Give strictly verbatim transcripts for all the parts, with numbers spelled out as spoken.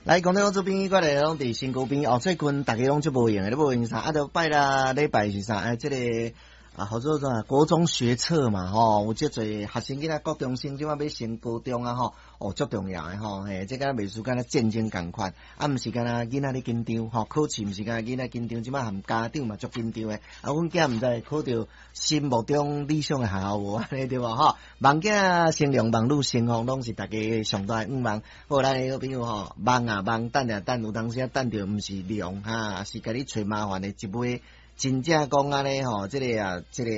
來，講到這邊，過來攏佇身軀邊哦。最近逐家攏足無閒的，你無閒啥？啊，著拜六禮拜是啥？哎，這個啊，號做啥？國中學測嘛，吼，有足濟學生囡仔，國中生這擺欲升高中啊，吼，哦，足重要的吼，嘿，這個袂輸敢若戰爭仝款，啊，毋是干焦囡仔咧緊張，吼，考試毋是干焦囡仔緊張，這擺含家長嘛足緊張的。啊，阮囝毋知考著心目中理想的學校無按呢對無吼？望囝成龍，望女成鳳，攏是逐家上大的願望。好，咱的好朋友吼，望啊望，等啊等，有當時啊等著毋是龍哈，是共你揣麻煩的一尾。真正講按呢吼，這个啊，這个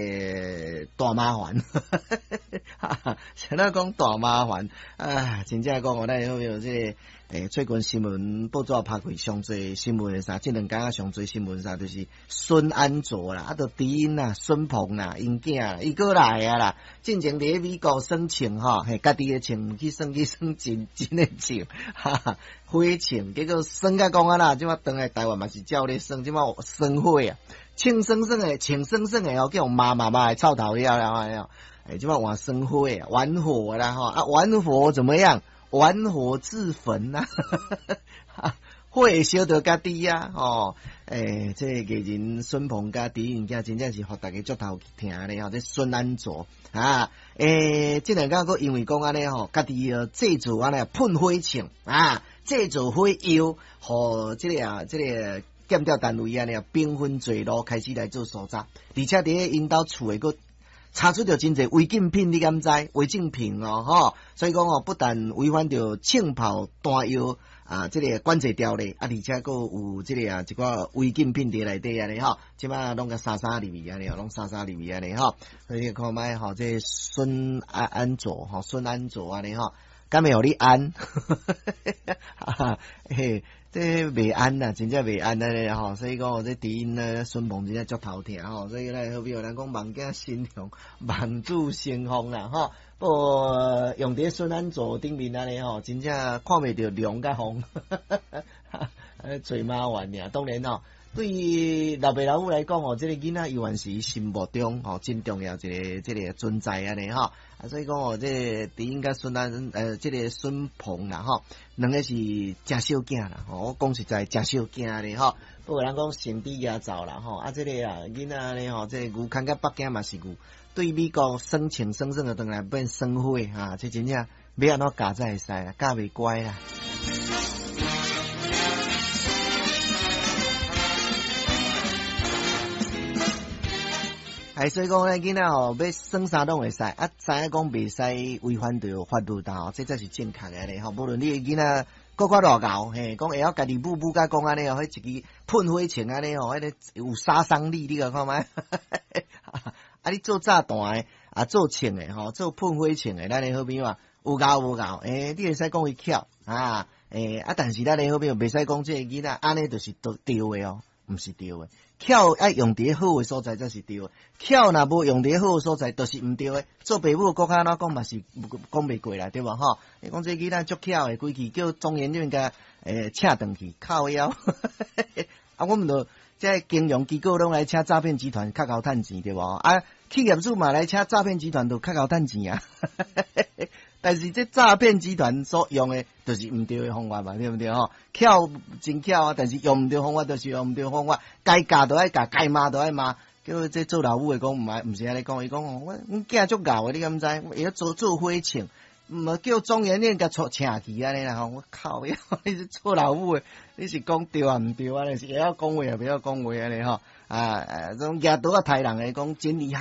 大麻煩，啥物講大麻煩啊？真正講哦，咱好朋友這个，欸，最近新聞報紙拍開上濟新聞的啥？這兩工上濟新聞啥？就是孫安佐啦，啊，著知音啦，孫鵬啦，𪜶囝伊閣來啊啦。進前佇咧美國耍槍吼，嘿，家己的槍毋去耍去耍真真的槍，哈哈，火槍，結果耍甲講啊啦，這擺轉來台灣嘛是照咧耍，這擺耍火啊。槍耍耍的，槍耍耍的哦，叫罵罵罵臭頭了了，哎，這擺換耍火啊，玩火啦吼，啊，玩火怎麼樣？玩火自焚呐，火會燒著家己啊，吼，欸，這個藝人孫鵬佮知音囝真正是予逐家足頭疼咧吼，這孫安佐啊，欸，這兩工閣因為講按呢吼，家己製造按呢噴火槍啊，製造火藥，予這个啊，這个。檢調單位按呢，兵分多路開始來做搜查，而且佇咧𪜶兜厝的閣查出著真濟違禁品，你敢知？違禁品哦，吼！所以講哦，不但違反著槍炮彈藥啊，這个管制條例啊，而且閣有這个啊一寡違禁品佇內底按呢吼，這擺攏共殺殺入去按呢，攏殺殺入去按呢吼。所以你看覓吼，這孫安安佐吼，孫安佐按呢吼，敢會予你安？嘿。這袂安啦，真正袂安按呢吼，所以講這知音呢，孫鵬真正足頭疼吼，所以咱好比人講望囝成龍，望子成鳳啦吼。不過用佇孫安佐頂面按呢吼，真正看袂著龍佮鳳，揣麻煩爾。當然吼，對於老爸老母來講吼，這个囡仔猶原是心目中吼真重要一个這个存在按呢吼。啊，所以講哦，這个知音佮孫安呃，這个孫鵬啦吼，兩个是誠相囝啦吼。我講實在，誠相囝咧吼。不過人講成豬蜈走啦吼，啊，這个啊囡仔按呢吼，這个牛牽到北京嘛是牛，對美國耍槍耍耍就轉來變耍火哈，這真正欲按怎教才會使啦，教袂乖啦。哎，所以講咧，囡仔吼欲耍啥攏會使，啊，知影講袂使違反著法律啦吼，這才是正確的咧吼。無論你的囡仔閣較偌𠢕，嘿，講會曉家己舞舞甲講按呢哦，彼一支噴火槍按呢吼，彼个有殺傷力，你共看覓？啊，你做炸彈的，啊，做槍的吼，做噴火槍的，咱的好朋友啊，有𠢕無𠢕？欸，你會使講伊巧啊，欸，啊，但是咱的好朋友袂使講這个囡仔按呢就是對對的哦，毋是對的。巧愛用佇好的所在才是對的，巧若無用佇好的所在，就是毋對的。做爸母閣較按怎講嘛是講袂過啦，對無吼？你講這个囡仔足巧的，規氣叫中研院共欸請轉去靠腰。啊，阮們著這金融機構攏來請詐騙集團較𠢕趁錢對無？啊，企業主嘛來請詐騙集團都較𠢕趁錢啊。但是這詐騙集團所用的，就是毋對的方法嘛，對毋對吼？巧真巧啊，但是用毋對方法，就是用毋對方法。該教就愛教，該罵就愛罵。叫這做老母的講毋愛，毋是按呢講，伊講哦，我阮囝足𠢕的，你敢知？會曉做做火槍，毋叫中研院共𤆬請去按呢啦吼！我靠呀，你是做老母的，你是講對抑毋對按呢？是會曉講話抑袂曉講話按呢吼？啊，這種舉刀仔刣人的講真厲害。